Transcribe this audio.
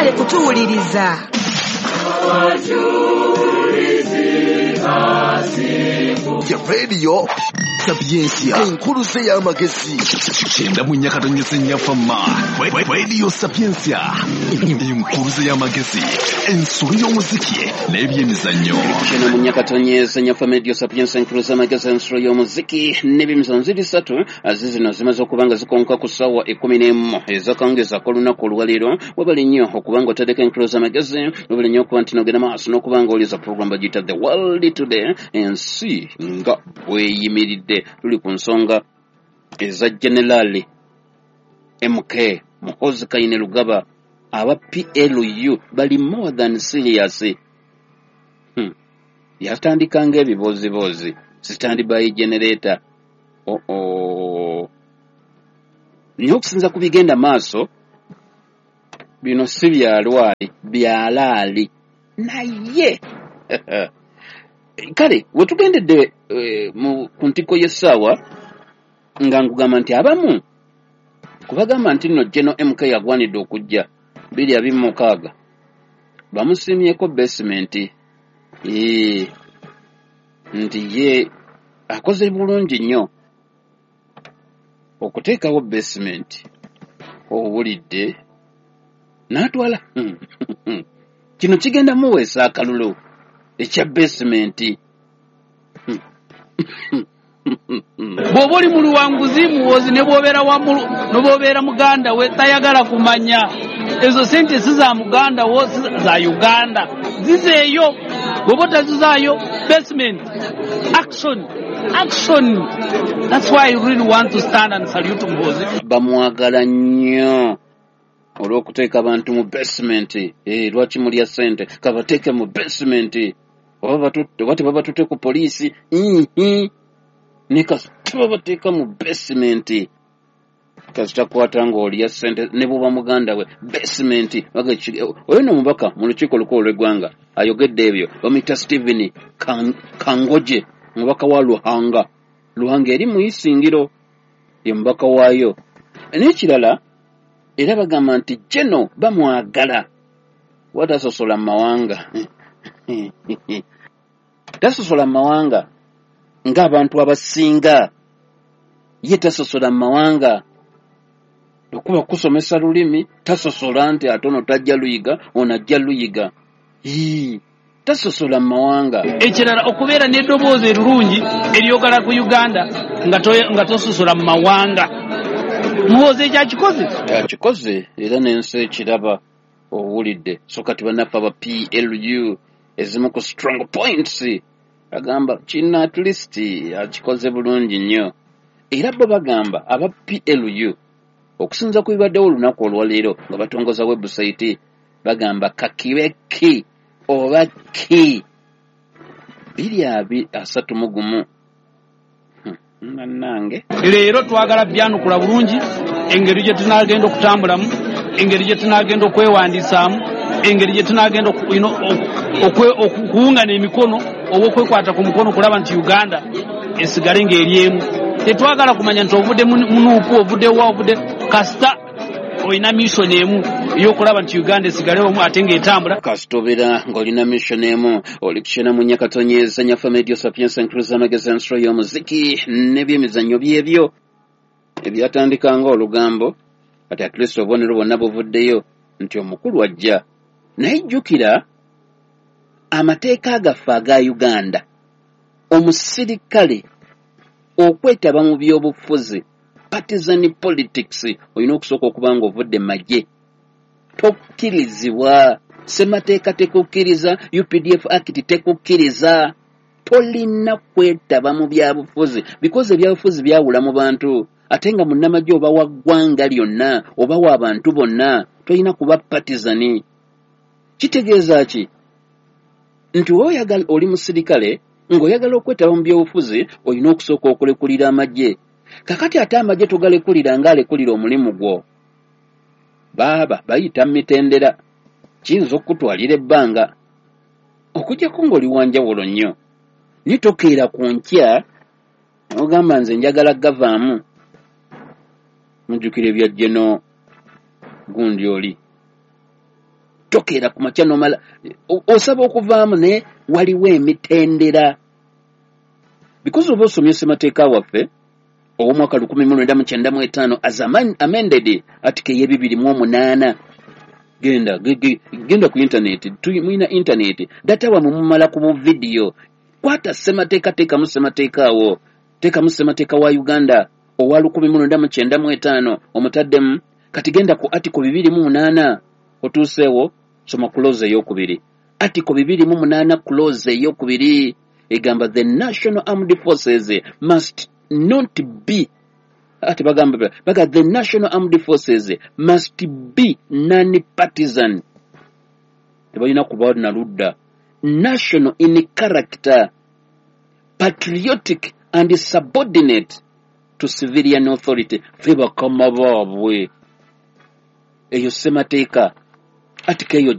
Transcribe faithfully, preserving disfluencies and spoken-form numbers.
Mwebale kutuwuliriza. Ya Radio Sapientia, enkuluze y'amagezi. Kyenda mu nnya katonyeze nnya fama. Radio Sapientia, enkuluze y'amagezi, ensolo y'omuziki n'ebyemizannyo. Kyenda mu nnya katonyeze nnya fama, Radio Sapientia, enkuluze y'amagezi, ensolo y'omuziki n'ebyemizannyo. Ziri ssatu zizino zimaze okuba nga zikonka ku ssaawa ekkumi n'emu ezakawungeezi ak'olunaku olwaleero. Webale nnyo okuba nga oteddeko enkuluze y'amagezi, webale nnyo okuba nti nogenda maaso n'okuba nga oliza program bagiyita The World Today, ensi nga bweyimiridde. Tuli ku nsonga eza General M K Muhoozi Kainerugaba. Aba P L U bali more than serious. Hmm. Yatandika ng'ebibooziboozi, standby generator. Oh oh. Naye okusinza ku bigenda maaso, bino si byalwali, byalaali. Naye kale wetugendedde e, mu ku ntikko y'essaawa nga nkugamba nti abamu kubagamba nti nno General M K yagwanidde okujja bbiri abiri mu mukaaga bamusiimyeko basement, ee, nti ye akoze bulungi nnyo okuteekawo basement. Owulidde n'atwala kino kigenda muweesa akalulu ekya basement. Bw'oba oli mu luwanguzi Muhoozi ne bw'obeera wa mu-, ne bw'obeera muganda we tayagala kumanya. Ezo ssente si za muganda wo, si za Uganda, zizeeyo. Bw'oba otazizaayo, basement action, action. That's why I really want to stand and salute Muhoozi. Bamwagala nnyo olw'okuteeka abantu mu basement. Eh, lwaki mulya ssente? Kabateeke mu basement. Oba batu-, oba tebabatutte ku poliisi. Mhm. Ne kasita babateeka mu basement. Kasita kwata ng'olya ssente ne bw'oba muganda we, basement. Baga ki-, oyo nno omubaka mu lukiiko olukulu olw'eggwanga ayogedde ebyo. Bamuyita Stephen Kan-, Kangoje, omubaka wa Luhanga. Luhanga eri mu Isingiro, ye mubaka waayo. N'ekirala era bagamba nti General bamwagala watasosola mu mawanga. Tasosola mu mawanga ng'abantu abasinga. Ye tasosola mu mawanga. Okuba kusomesa lulimi, tasosola nti ate ono tajja luyiga, ono ajja luyiga. Yii, tasosola mu mawanga. Ekirala okubeera n'eddoboozi erirungi eryogera ku Uganda nga to-, nga tososola mu mawanga. Muhoozi ekyo akikoze? Akikoze era n'ensi ekiraba, owulidde. So kati bannaffe aba P L U ezimu ku strong points agamba kino at least akikoze bulungi nnyo. Era bo bagamba aba P L U okusinza ku bibaddewo olunaku olwaleero nga batongoza website, bagamba kakibe ki oba ki biri abi asatu mu gumu. Hmm, bannange. Leero twagala byanukula bulungi engeri gye tunaagenda okutambulamu, engeri gye tunaagenda okwewandiisaamu, engeri gye tunaagenda oku-, you know, oku-, oku-, okuwungana emikono oba okwekwata ku mukono okulaba nti Uganda esigale ng'eri emu. Tetwagala kumanya nti ovudde mu Nuupu, ovudde wa, ovudde kasita olina mission emu ey'okulaba nti Uganda esigale omu ate ng'etambula. Kasita obeera ng'olina mission emu, oli kukyena mu nnya katonyeza nnyaffe Radio Sapientia Enkuluze amagezi ensolo y'omuziki n'ebyemizannyo byebyo ebyatandika ng'olugambo. Kati at least obubonero bwonna buvuddeyo nti omukulu ajja. Naye jjukira amateeka gaffe aga Uganda, omusirikale okwetaba mu byobufuzi, partisan politics, olina okusooka okuba ng'ovudde mu magye. Tokkirizibwa, ssemateeka tekukkiriza, U P D F Act tekukkiriza. Tolina kwetaba mu byabufuzi because ebyabufuzi byawula mu bantu. Ate nga munnamagye oba wa ggwanga lyonna oba wa bantu bonna, tolina kuba partisan. Kitegeeza ki? Nti oyagala, oli musirikale ng'oyagala okwetaba mu byobufuzi, olina okusooka okulekulira amagye. Kakati ate amagye togalekulira ng'alekulira omulimu gwo. Baaba bayita mu mitendera, kiyinza okukutwalira ebbanga okuggyako ng'oli wa njawulo nnyo. Naye tokeera ku nkya ogamba nze njagala gavaamu. Mujjukira ebya General gundi oli Tokeera ku makya nomala osaba okuvaamu, naye waliwo emitendera, because oba osomye ssemateeka waffe ow'omwaka lukumi mu lwenda mu kyenda mu etaano as amended, article ey'ebibiri mu omunaana. Genda genda ku internet, mulina internet, data wamwe mumala ku buvidiyo. Kwata ssemateeka, teekamu ssemateeka awo, teekamu ssemateeka wa Uganda owa lukumi mu lwenda mu kyenda mu etaano, omutaddemu. Kati genda ku article bibiri mu munaana, otuuseewo, soma clause eyokubiri. Article bibiri mu munaana clause eyokubiri egamba, "The national armed forces must not be," ate bagamba baga, "The national armed forces must be non-partisan," tebalina kuba na ludda, "national in character, patriotic and subordinate to civilian authority." Fe bakama baabwe. Eyo ssemateeka, article eyo.